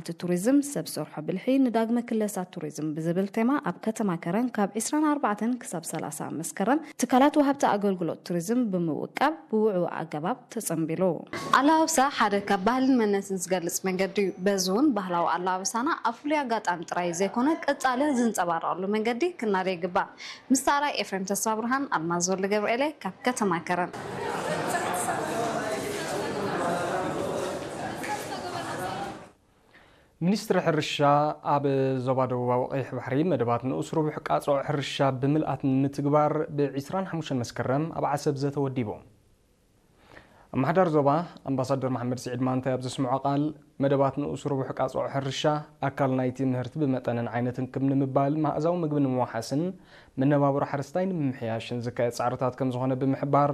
እቲ ቱሪዝም ሰብ ሰርሖ ብልሒ ንዳግመ ክለሳ ቱሪዝም ብዝብል ቴማ ኣብ ከተማ ከረን ካብ ዕስራን ኣርባዕተን ክሳብ ሰላሳ መስከረም ትካላት ወሃብቲ ኣገልግሎት ቱሪዝም ብምውቃብ ብውዕው ኣገባብ ተጸንቢሉ። ኣለባብሳ ሓደ ካብ ባህልን መንነትን ዝገልጽ መንገዲ እዩ። በዚ እውን ባህላዊ ኣለባብሳና ኣብ ፍሉይ ኣጋጣሚ ጥራይ ዘይኮነ ቀጻሊ ዝንጸባረቐሉ መንገዲ ክናደ ይግባእ። ምስ ተራይ ኤፍሬም ተስፋ ብርሃን፣ ኣልማዝ ወልደ ገብርኤለ ካብ ከተማ ከረን። ሚኒስትሪ ሕርሻ ኣብ ዞባ ደቡባዊ ቀይሕ ባሕሪ መደባት ንኡስ ርቡሕ ቃጽዖ ሕርሻ ብምልኣት ንምትግባር ብ ዕስራን ሓሙሽተን መስከረም ኣብ ዓሰብ ዘተ ወዲቡ። ኣመሓዳሪ ዞባ ኣምባሳደር መሓመድ ስዒድ ማንታይ ኣብ ዘስምዖ ቃል፣ መደባት ንኡስ ርቡሕ ቃጽዖ ሕርሻ ኣካል ናይቲ ምህርቲ ብመጠንን ዓይነትን ክብ ንምባል፣ መኣዛዊ ምግቢ ንምውሓስን መነባብሮ ሓረስታይ ንምምሕያሽን ዝካየድ ጻዕርታት ከም ዝኾነ ብምሕባር፣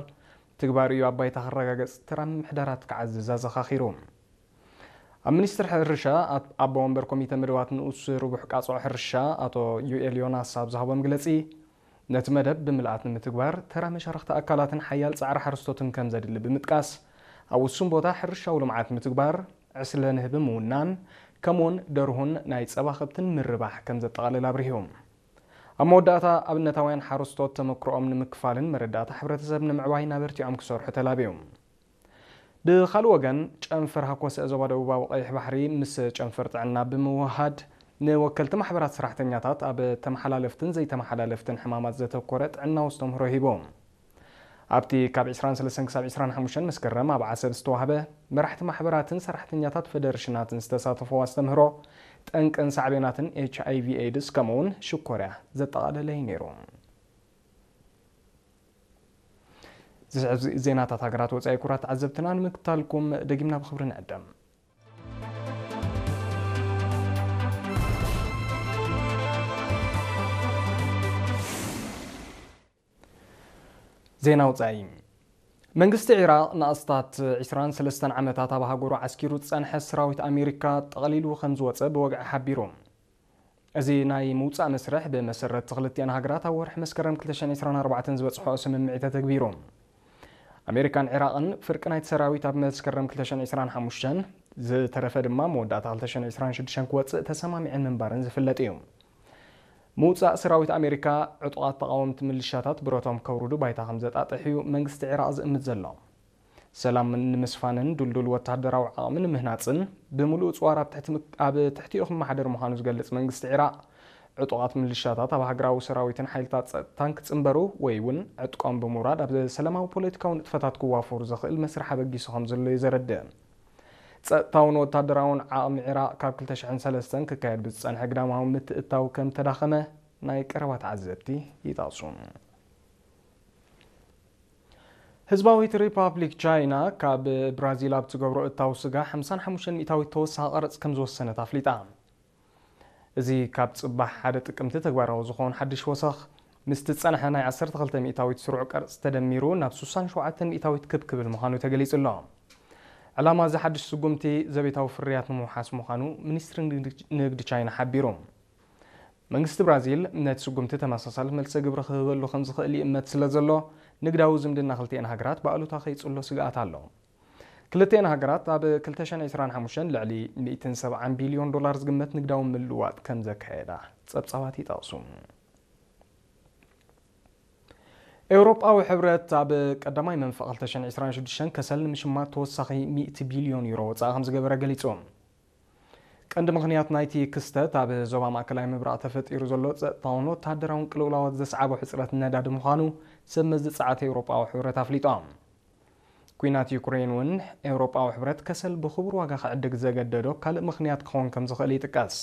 ትግባር እዩ ኣብ ባይታ ክረጋገጽ ተራ ምምሕዳራት ክዓዝዝ ኣዘኻኺሩ። ኣብ ሚኒስትሪ ሕርሻ ኣቦ ወንበር ኮሚተ መደባት ንኡስ ርቡሕ ቃጽዖ ሕርሻ ኣቶ ዩኤል ዮናስ ኣብ ዝሃቦ መግለጺ፣ ነቲ መደብ ብምልኣት ንምትግባር ተራ መሻርኽቲ ኣካላትን ሓያል ጻዕሪ ሓረስቶትን ከም ዘድሊ ብምጥቃስ፣ ኣብ ውሱን ቦታ ሕርሻዊ ልምዓት ምትግባር፣ ዕስለ ንህቢ ምውናን፣ ከምኡውን ደርሁን ናይ ጸባ ከብትን ምርባሕ ከም ዘጠቓልል ኣብሪሁ። ኣብ መወዳእታ ኣብነታውያን ሓረስቶት ተመክሮኦም ንምክፋልን መረዳእታ ሕብረተሰብ ንምዕባይን ኣበርቲዖም ክሰርሑ ተላብዩ። ብኻልእ ወገን፣ ጨንፈር ሃኮሰ ዞባ ደቡባዊ ቀይሕ ባሕሪ ምስ ጨንፈር ጥዕና ብምውሃድ፣ ንወከልቲ ማሕበራት ሰራሕተኛታት ኣብ ተመሓላለፍትን ዘይተመሓላለፍትን ሕማማት ዘተኮረ ጥዕናዊ ኣስተምህሮ ሂቡ። ኣብቲ ካብ ዕስራን ሰለስተን ክሳብ ዕስራን ሓሙሽተን መስከረም ኣብ ዓሰብ ዝተዋህበ፣ መራሕቲ ማሕበራትን ሰራሕተኛታት ፈደረሽናትን ዝተሳተፈዎ ኣስተምህሮ፣ ጠንቅን ሳዕቤናትን ኤች ኣይ ቪ ኤድስ ከምኡውን ሽኮርያ ዘጠቓለለ እዩ ነይሩ። ዝስዕብ ዜናታት ሃገራት ወጻኢ ክቡራት ተዓዘብትና ንምክታልኩም ደጊምና ብኽብሪ ንዕደም። ዜና ወጻኢ። መንግስቲ ዒራቕ ንኣስታት ዕስራን ሰለስተን ዓመታት ኣብ ሃገሩ ዓስኪሩ ዝጸንሐ ሰራዊት ኣሜሪካ ጠቕሊሉ ከም ዝወጸ ብወግዒ ሓቢሩ። እዚ ናይ ምውጻእ መስርሕ ብመሰረት ክልቲኣን ሃገራት ኣብ ወርሒ መስከረም ክልተ ሽሕን ዕስራን ኣርባዕተን ዝበጽሖ ስምምዕ ተተግቢሩ። ኣሜሪካን ዒራቕን ፍርቂ ናይቲ ሰራዊት ኣብ መስከረም ክልተ ሽሕን ዕስራን ሓሙሽተን፣ ዝተረፈ ድማ መወዳእታ ክልተ ሽሕን ዕስራን ሽዱሽተን ክወጽእ ተሰማሚዐን ምንባረን ዝፍለጥ እዩ። ምውጻእ ሰራዊት ኣሜሪካ ዕጡቓት ተቓወምቲ ምልሻታት ብረቶም ከውርዱ ባይታ ከም ዘጣጥሕ እዩ መንግስቲ ዒራቕ ዝእምት ዘሎ። ሰላም ንምስፋንን ድልዱል ወተሃደራዊ ዓቕሚ ንምህናጽን ብምሉእ ጽዋር ኣብ ትሕቲ ምክ-፣ ኣብ ትሕቲኡ ክመሓደር ምዃኑ ዝገልጽ መንግስቲ ዒራቕ፣ ዕጡቓት ምልሻታት ኣብ ሃገራዊ ሰራዊትን ሓይልታት ጸጥታን ክጽንበሩ ወይ እውን ዕጥቆም ብምውራድ ኣብ ሰላማዊ ፖለቲካዊ ንጥፈታት ክዋፈሩ ዘኽእል መስርሕ ኣበጊሱ ከም ዘሎ እዩ ዘረድእ። ጸጥታውን ወተሃደራውን ዓቕሚ ዒራቕ ካብ ክልተ ሽሕን ሰለስተን ክካየድ ብዝጸንሐ ግዳማዊ ምትእትታው ከም ተዳኸመ ናይ ቀረባ ተዓዘብቲ ይጠቕሱ። ህዝባዊት ሪፓብሊክ ቻይና ካብ ብራዚል ኣብ ትገብሮ እታው ስጋ ሓምሳን ሓሙሽተን ሚእታዊት ተወሳኺ ቀረጽ ከም ዝወሰነት ኣፍሊጣ። እዚ ካብ ጽባሕ ሓደ ጥቅምቲ ተግባራዊ ዝኾን ሓድሽ ወሰኽ፣ ምስቲ ዝጸንሐ ናይ ዓሰርተ ክልተ ሚእታዊት ስሩዕ ቀረጽ ተደሚሩ ናብ ስሳን ሸውዓተን ሚእታዊት ክብ ክብል ምዃኑ ተገሊጹ ኣሎ። ዕላማ እዚ ሓድሽ ስጉምቲ ዘቤታዊ ፍርያት ንምውሓስ ምዃኑ ሚኒስትሪ ንግዲ፣ ንግዲ ቻይና ሓቢሩ። መንግስቲ ብራዚል ነቲ ስጉምቲ ተመሳሳሊ መልሰ ግብሪ ክህበሉ ከም ዝኽእል ይእመት ስለ ዘሎ፣ ንግዳዊ ዝምድና ክልቲኤን ሃገራት ብኣሉታ ከይጽሎ ስግኣት ኣሎ። ክልቲኤን ሃገራት ኣብ ክልተ ሽሕን ዕስራን ሓሙሽተን ልዕሊ ሚእትን ሰብዓን ቢልዮን ዶላር ዝግመት ንግዳዊ ምልውዋጥ ከም ዘካየዳ ጸብጻባት ይጠቕሱ። ኤውሮጳዊ ሕብረት ኣብ ቀዳማይ መንፈቕ ክልተ ሽሕን ዕስራን ሽዱሽተን ከሰል ንምሽማት ተወሳኺ ሚእቲ ቢልዮን ዩሮ ወጻኢ ከም ዝገበረ ገሊጹ። ቀንዲ ምኽንያት ናይቲ ክስተት ኣብ ዞባ ማእከላይ ምብራቕ ተፈጢሩ ዘሎ ጸጥታውን ወተሃደራውን ቅልውላዋት ዘስዓቦ ሕጽረት ነዳዲ ምዃኑ ሰብ መዚ ጸዓት ኤውሮጳዊ ሕብረት ኣፍሊጦም። ኲናት ዩክሬን እውን ኤውሮጳዊ ሕብረት ከሰል ብኽቡር ዋጋ ክዕድግ ዘገደዶ ካልእ ምኽንያት ክኸውን ከም ዝኽእል ይጥቀስ።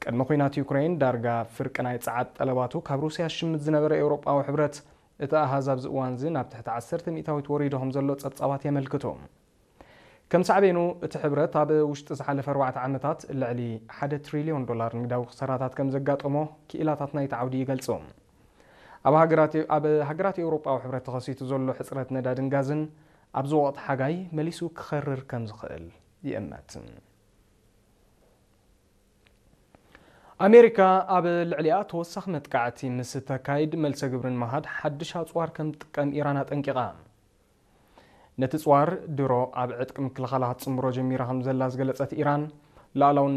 ቅድሚ ኲናት ዩክሬን ዳርጋ ፍርቂ ናይ ጸዓት ጠለባቱ ካብ ሩስያ ዝሽምት ዝነበረ ኤውሮጳዊ ሕብረት፣ እቲ ኣሃዝ ኣብዚ እዋን እዚ ናብ ትሕቲ ዓሰርተ ሚእታዊት ወሪዱ ከም ዘሎ ጸብጻባት የመልክቱ። ከም ሳዕቤኑ፣ እቲ ሕብረት ኣብ ውሽጢ ዝሓለፈ ኣርባዕተ ዓመታት ልዕሊ ሓደ ትሪልዮን ዶላር ንግዳዊ ክሳራታት ከም ዘጋጠሞ ክኢላታት ናይቲ ዓውዲ ይገልጹ። ኣብ ሃገራት፣ ኣብ ሃገራት ኤውሮጳዊ ሕብረት ተኸሲቱ ዘሎ ሕጽረት ነዳድን ጋዝን ኣብዚ ወቕቲ ሓጋይ መሊሱ ክኸርር ከም ዝኽእል ይእመት። ኣሜሪካ ኣብ ልዕሊኣ ተወሳኺ መጥቃዕቲ ምስ ተካይድ መልሰ ግብሪ ንምሃብ ሓድሽ ኣጽዋር ከም ትጥቀም ኢራን ኣጠንቂቓ። ነቲ ጽዋር ድሮ ኣብ ዕጥቂ ምክልኻላ ክትጽንብሮ ጀሚራ ከም ዘላ ዝገለጸት ኢራን፣ ሉኣላውነት